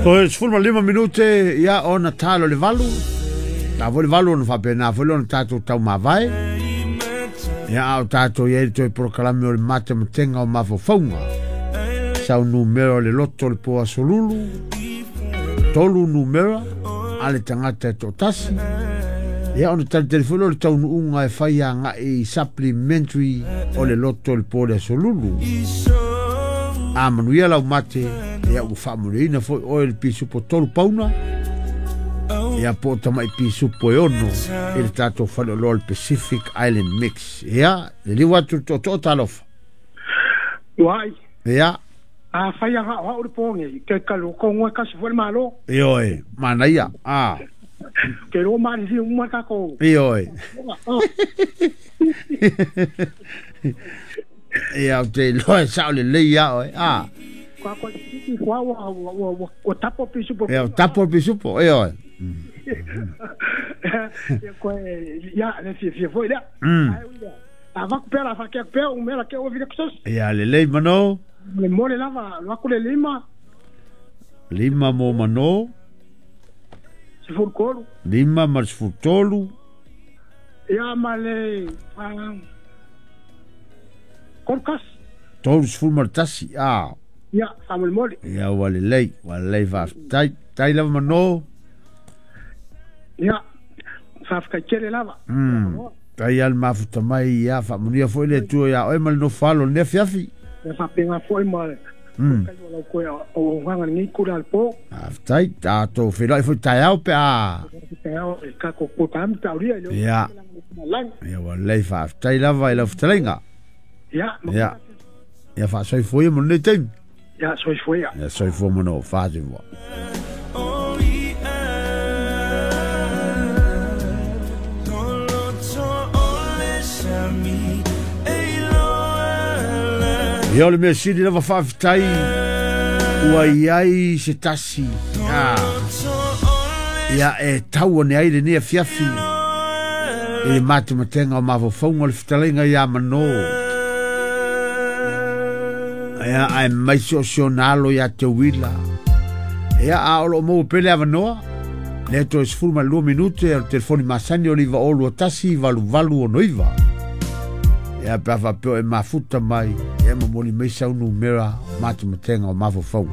Toe 15 minute ia ona talo le 8. Ta foi le 8 ona faapena foi lea ona tatou taumavae. Ia a o tatou i ai le toe polokalame o le matematenga o mafaufauga. Sau numera o le loto o le po aso lulu. 3 numera a le tagata e toatasi. Ia ona talitali foi lea o le taunuuga e fai agai i supplementary o le loto o le po le aso lulu. A manuia lau mate, ia ua faamanuiaina foi oe le pisupo 3 pauna. Ia po o tamai pisupo e 6 i le tatou faleoloa o le Pacific Island Mix. Ia, le liu atu le tootoo talofa. Uai. Ia. A fai aga o au le po nei, ke ka lo ko ngoi kasi foi le malo. Ioe, manaia. A. Ke ro mari li uma ka ko. Ioe. Ia o te iloa e sao lelei ia oe. A. Ka ko tiki kwa wa wa wa tapo pisupo. Ia o tapo pisupo, ioe. Ia koe ia le fia fia foi lea. A vaku pea la whakea pea o mea la ke o vile kusos. Ia lelei mano. Le mole lava, lo aku le lima. Lima mo mano. 13. Lima ma le 13. Ia ma le kolkas. 31, a. Ia, faamolemole. Ia ua lelei, ua lelei faafetai. Tai lava mano. Ia, faafetai tele lava. Tai al mafuta mai ia faamanuia foi le Atua ia oe ma le nofo alo o lenei afiafi. Ia faapega foi ma kai o lau koe o auaunaga lenei kula a le po. Faafetai, tatou feiloai foi taeao pe a. Taeao e tatou polokalame pe a aulia i le Ia. Ia ua lelei faafetai lava i lau fetalaiga. Ia. Ia. Ia faasoifua ia mo lenei taimi. Ia soifua ia. Ia soifua mano faasivoa. Ia o le mea sili lava faafetai ua iai se tasi. Ia e tau ane ai lenei afiafi i le matematenga o mafaufauga o le fetalaiga ia Mano. Ia ae mai se o se ona alo ia te uila. Ia a o loo maua pea le avanoa. Lea toe 12 minute o le telefoni masani o le 902 1 88 69. Ia pe a faapea o e mafuta mai, ia momoli mai sau numera matematenga o mafaufauga.